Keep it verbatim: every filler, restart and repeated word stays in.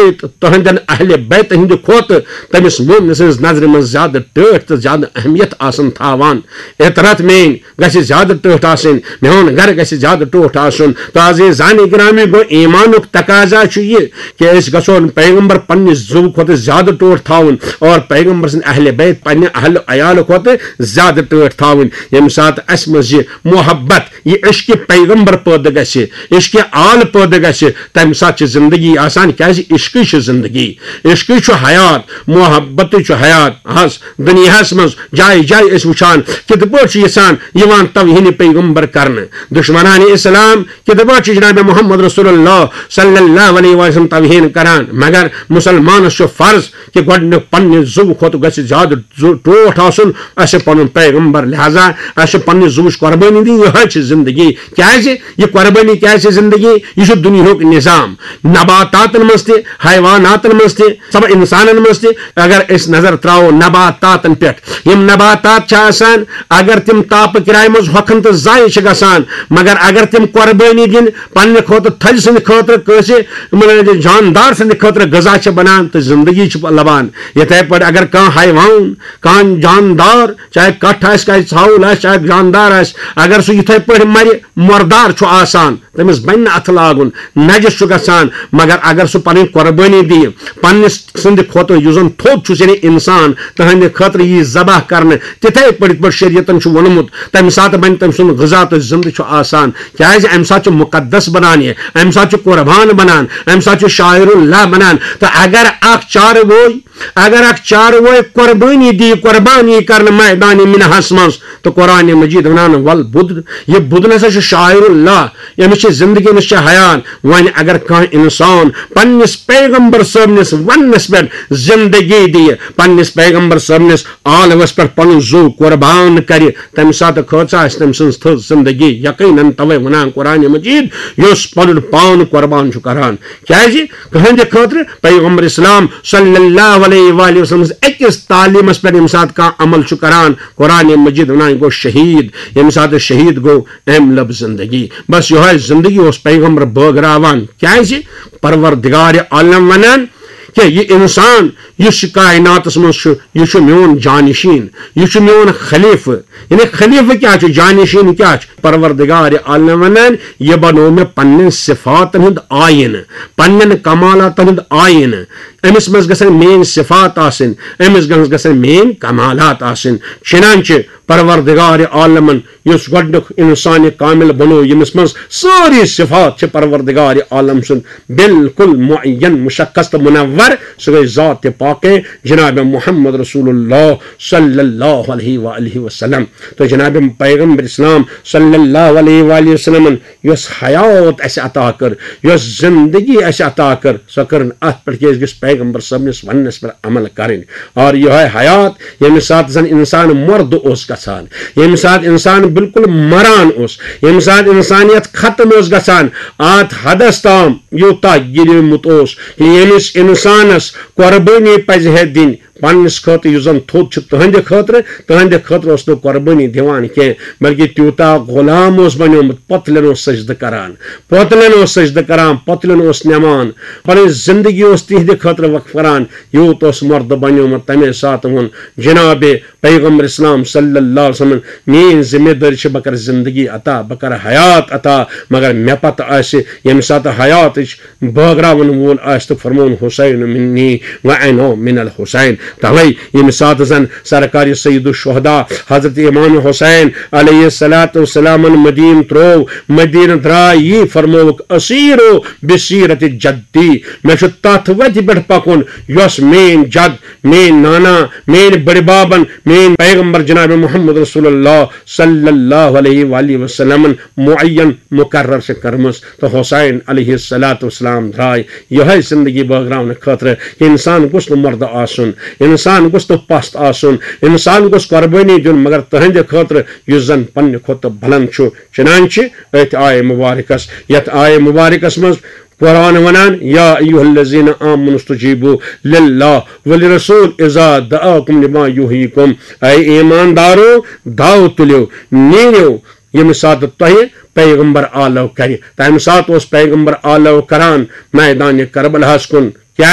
بیت، تہنٛدٮ۪ن اہل بیت ہٕنٛدِ کھۄتہٕ تٔمِس مومنہٕ سٕنٛز نظرِ منٛز زیادٕ ٹٲٹھ تہٕ زیادٕ اہمیت آسان تھاوان۔ عترت میٲنۍ گژھِ زیادٕ ٹٲٹھ آسٕنۍ، میون گرٕ گژھِ زیادٕ ٹوٹھ آسُن۔ تہٕ عزیزان گرامی، گوٚو ایمانُک تقاضا چھُ یہِ کہِ أسۍ گژھون پیغمبر پننہِ زُو کھۄتہٕ زیادٕ ٹوٹھ تھاوُن اور پیغمبر سٕنٛدۍ اہل بیت، پننہِ اہل عیال کھۄتہٕ زیادٕ ٹٲٹھ تھاوٕنۍ۔ ییٚمہِ ساتہٕ اسہِ منٛز یہِ محبت، یہِ عشق پیغمبر پٲدٕ گژھِ، عشق آل پٲدٕ گژھِ، تمہِ ساتہٕ چھِ زندگی آسان، کیازِ عشقٕے چھِ زندگی، عشقٕے چھُ حیات، محبتٕے چھُ حیات۔ حظ، دُنیاہَس منٛز جایہِ جایہِ أسۍ وٕچھان کِتھ پٲٹھۍ چھُ یَژھان یِوان توہین پیغمبر کرنہٕ۔ دشمنان اسلام کِتھ پٲٹھۍ چھُ جناب محمد رسول اللہ صلی اللہ علیہ وسلم توہین کران، مگر مسلمانس چھُ فرض کہِ گۄڈٕنیُک پننہِ زُو کھۄتہٕ گژھِ زیادٕ زُو ٹوٹھ آسُن، اسہِ پنُن پیغمبر۔ لہذا اسہِ چھِ پننہِ زُوٕچ قۄربٲنی دِنۍ، یِہوٚے چھِ زندگی۔ کیازِ؟ یہِ قۄربٲنی کیازِ چھِ زندگی؟ یہِ چھُ دُنیاہُک نظام۔ نباتاتن منٛز تہِ، حیواناتن منٛز تہِ، سب انسانن منٛز تہِ، اگر أسۍ نظر تراوو نباتاتن پٮ۪ٹھ، یِم نباتات چھِ آسان، اگر تِم تاپہٕ کرایہِ منٛز ہۄکھن تہٕ ضایع چھِ گژھان، مگر اگر تِم قۄربٲنی دِن پننہِ خٲطرٕ، تھزِ سٕنٛدِ خٲطرٕ، کٲنٛسہِ، یِمن جاندار سٕنٛدِ خٲطرٕ غذا چھِ بنان تہٕ زندگی چھِ لبان۔ یِتھے پٲٹھۍ اگر کانٛہہ حیوان، کانٛہہ جاندار، چاہے کٹھ آسہِ، چاہے ژھاوُل آسہِ، چاہے جاندار آسہِ، اگر سُہ یِتھے پٲٹھۍ مرِ، مردار چھُ آسان، تٔمِس بنہِ نہٕ اَتھٕ لاگُن، نجس چھُ گژھان۔ مگر اگر سُہ پنٕنۍ قۄربٲنی دِیہِ، پننِس سٕنٛدِ کھۄتہٕ یُس زن تھوٚد چھُ، یعنی انسان، تٕہنٛدِ خٲطرٕ یی ذبح کرنہٕ، تِتھے پٲٹھۍ، یِتھ پٲٹھۍ شریعتن چھُ ووٚنمُت، تمہِ ساتہٕ بنہِ تٔمۍ سُنٛد غذا تہٕ زِندٕ چھُ آسان۔ کیازِ؟ امہِ ساتہٕ چھُ مقدس بنان یہِ، امہِ ساتہٕ چھُ قربان بنان، امہِ ساتہٕ چھُ شاعر اللہ بنان۔ تہٕ اگر اکھ چاروٲے، اگر اکھ چاروٲے قۄربٲنی دی، قۄربانی کرنہٕ میدانِ منحس منٛز، تہٕ قرآن مجید ونان، "ول بُد"، یہِ بُد نسا چھُ شاعر اللہ، أمِس چھِ زندگی، أمِس چھِ حیات۔ وۄنۍ اگر کانٛہہ انسان پننِس پیغمبر صٲبنِس وننس پٮ۪ٹھ زندگی دِیہِ، پننِس پیغمبر صٲبنِس آلوس پٮ۪ٹھ پنُن زُو قربان کرِ، تمہِ ساتہٕ کھٲژ آسہِ تٔمۍ سٕنٛز تھٔز زندگی۔ یقیناً توے ونان قرآن مجید، یُس پنُن پان قربان چھُ کران۔ کیازِ؟ کٕہٕنٛدِ خٲطرٕ۔ پیغمبر اسلام صلی اللہ علیہ وآلہ وسلم سٕنٛز أکِس تعلیٖمس پٮ۪ٹھ ییٚمہِ ساتہٕ کانٛہہ عمل چھُ کران، قرآن مجید ونان، یہِ گوٚو شہیٖد۔ ییٚمہِ ساتہٕ شہیٖد گوٚو، أمۍ لٔب زندگی۔ بس یِہوٚے زندگی اوس پیغمبر بٲگراوان۔ کیازِ؟ پروردگار عالم ونان کہِ یہِ انسان یُس یہِ کائناتس منٛز چھُ، یہِ چھُ میون جانشین، یہِ چھُ میون خلیفہٕ۔ یعنی خلیفہٕ کیٛاہ چھُ؟ جانشین کیٛاہ چھُ؟ پروردگار عالم ونان، یہِ بنوو مےٚ پننٮ۪ن صفاتن ہُنٛد آیٖنہٕ، پننٮ۪ن کمالاتن ہُنٛد آیٖنہٕ۔ أمِس منٛز گژھن میٲنۍ صفات آسٕنۍ، أمِس منٛز گژھن میٲنۍ کمالات آسٕنۍ۔ چنانچہ پروردگار عالمن یُس گۄڈٕنیُک انسان کامل بنوو، ییٚمِس منٛز سٲری صفات چھِ پروردگار عالم سُنٛد بالکل معین، مشخص تہٕ منور، سُہ گٔے ذات پاکے جناب محمد رسول اللہ صلی اللہ علیہ وآلہ وسلم۔ تہٕ جناب پیغمبر اسلام صلی اللہ علیہ وآلہ وسلمن یۄس حیات اسہِ عطا کٔر، یۄس زندگی اسہِ عطا کٔر، سۄ کٔرٕن اتھ پٮ۪ٹھ کہِ أسۍ گٔژھۍ پیغمبر صٲبنِس وننس پٮ۪ٹھ عمل کرٕنۍ۔ اور یِہوٚے حیات، ییٚمہِ ساتہٕ زن انسان مردٕ اوس گژھان، ییٚمہِ ساتہٕ انسان بالکل مران اوس، ییٚمہِ ساتہٕ انسانیت ختم اوس گژھان، اتھ حدس تام یوٗتاہ گِلیومُت اوس کہِ ییٚمِس انسانس قۄربٲنی پزِ ہے دِنۍ پننِس خٲطرٕ، یُس زن تھوٚد چھُ تٕہنٛدِ خٲطرٕ، تٕہنٛدِ خٲطرٕ اوس نہٕ قۄربٲنی دِوان کینٛہہ، بلکہِ تیوٗتاہ غلام اوس بنیومُت، پۄتلٮ۪ن اوس سجدٕ کران، پۄتلٮ۪ن اوس سجدٕ کران، پۄتلٮ۪ن اوس نِوان، پنٕنۍ زندگی اوس تِہنٛدِ خٲطرٕ وقف کران، یوٗت اوس مردٕ بنیومُت۔ تمے ساتہٕ ووٚن جناب پیغمبر اسلام صلی اللہ علیہ وسلم، میٲنۍ ذمہ دٲری چھِ، بہٕ کرٕ زندگی عطا، بہٕ کرٕ حیات عطا، مگر مےٚ پتہٕ آسہِ، ییٚمہِ ساتہٕ حیاتٕچ بٲگراون وول آسہِ، تہٕ فرمون، "حسین منی و انا من الحسین"۔ توے ییٚمہِ ساتہٕ زن سرکار سید الشہداء حضرت امام حسین علیہ الصلوۃ والسلامن مدینہ تروو، مدینہ درٛاے، یی فرمووُکھ، "اسیرو بسیرت جدی"، مےٚ چھُ تتھ وتہِ پٮ۪ٹھ پکُن یۄس میٲنۍ جد، میٲنۍ نانا، میٲنۍ بٔڑِ بابن، میٲنۍ پیغمبر جناب محمد رسول اللہ صلی اللہ علیہ وآلہ وسلمن معین مقرر چھِ کٔرمٕژ۔ تہٕ حسین علیہ الصلوۃ والسلام درٛاے یِہوٚے زندگی بٲگراونہٕ خٲطرٕ کہِ انسان گوٚژھ نہٕ مردٕ آسُن، انسان گوٚژھ نہٕ پست آسُن، انسان گوٚژھ قۄربٲنی دیُن، مگر تٕہنٛدِ خٲطرٕ یُس زن پننہِ کھۄتہٕ بلند چھُ۔ چنانچہ أتھۍ آیہِ مبارکس، یتھ آیہِ مبارکس منٛز قرآن ونان، "یا ایھا الذین آمنوا استجیبوا للہ ولرسول اذا دعاکم لما یحییکم"، اے ایماندارو، داو تُلِو، نیٖرِو، ییٚمہِ ساتہٕ تۄہہِ پیغمبر آلو کرِ۔ تمہِ ساتہٕ اوس پیغمبر آلو کران میدانِ کربلاہس کُن،